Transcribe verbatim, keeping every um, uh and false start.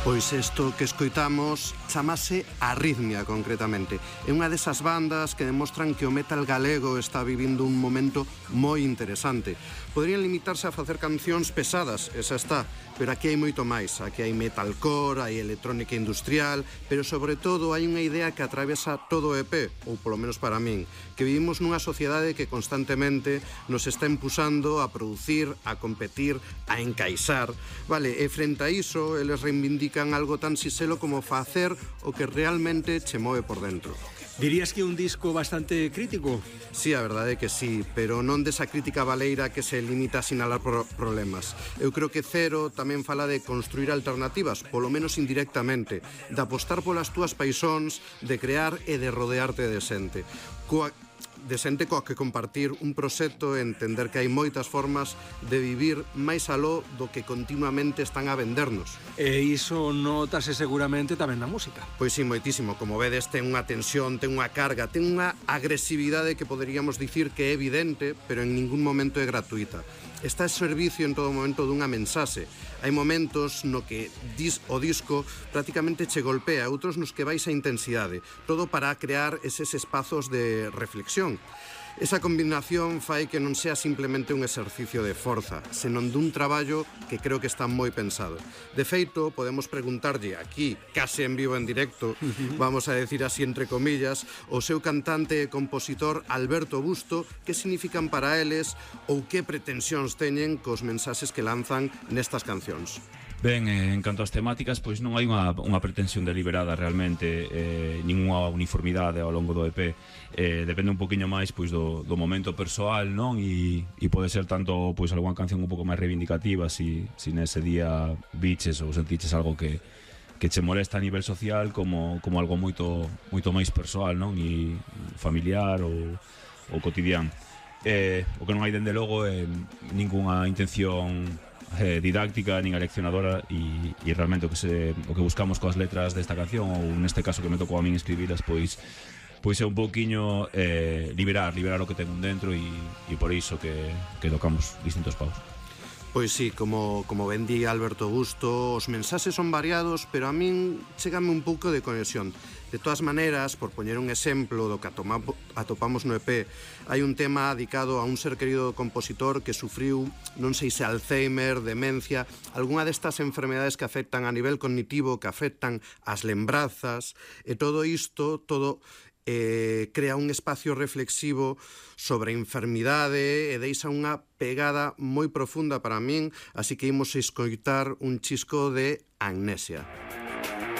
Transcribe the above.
Pois isto que escoitamos chamase Arritmia, concretamente. É unha desas bandas que demostran que o metal galego está vivindo un momento moi interesante. Poderían limitarse a facer cancións pesadas, esa está, pero aquí hai moito máis. Aquí hai metalcore, hai electrónica industrial, pero sobre todo hai unha idea que atravesa todo o E P, ou polo menos para min, que vivimos nunha sociedade que constantemente nos está impulsando a producir, a competir, a encaixar. Vale, e frente a iso, eles reivindican algo tan siselo como facer o que realmente che move por dentro. Dirías que é un disco bastante crítico? Sí, a verdade é que sí, pero non desa crítica baleira que se limita a sinalar pro problemas. Eu creo que Cero tamén fala de construir alternativas, polo menos indirectamente, de apostar polas túas paixóns, de crear e de rodearte de xente. Coa de xente coa que compartir un proxecto e entender que hai moitas formas de vivir máis aló do que continuamente están a vendernos. E iso notase seguramente tamén na música. Pois sí, moitísimo. Como vedes, ten unha tensión, ten unha carga, ten unha agresividade que poderíamos dicir que é evidente, pero en ningún momento é gratuita. Está a servicio en todo momento dunha mensaxe. Hai momentos no que dis, o disco prácticamente che golpea, outros nos que vais a intensidade, todo para crear eses espazos de reflexión. Esa combinación fai que non sea simplemente un exercicio de forza, senón dun traballo que creo que está moi pensado. De feito, podemos preguntarlle aquí, case en vivo en directo, vamos a decir así entre comillas, o seu cantante e compositor Alberto Busto, que significan para eles ou que pretensións teñen cos mensaxes que lanzan nestas cancións. Ben, eh, en canto ás temáticas, pois non hai unha, unha pretensión deliberada realmente, eh, ninguna uniformidade ao longo do E P. Eh, depende un poquinho máis pois do, do momento persoal, non? E, e pode ser tanto pois algunha canción un pouco máis reivindicativa si, si nese día biches ou sentiches algo que, que che molesta a nivel social, como, como algo moito, moito máis persoal, non? E familiar ou, ou cotidiano. Eh, o que non hai dende logo é ningunha intención eh, didáctica nin aleccionadora, e, e realmente o que, se, o que buscamos coas letras desta canción, ou neste caso que me tocou a min escribilas, pois pois é un pouquiño eh, liberar, liberar o que ten un dentro, e, e por iso que, que tocamos distintos paus. Pois sí, como, como ben di Alberto Busto, os mensaxes son variados, pero a min chégame un pouco de conexión. De todas maneiras, por poñer un exemplo do que atopamos no E P, hai un tema dedicado a un ser querido compositor que sufriu, non sei se Alzheimer, demencia, algunha destas enfermedades que afectan a nivel cognitivo, que afectan as lembrazas, e todo isto, todo eh, crea un espacio reflexivo sobre a enfermidade e deixa unha pegada moi profunda para min, así que imos escoitar un chisco de Amnesia.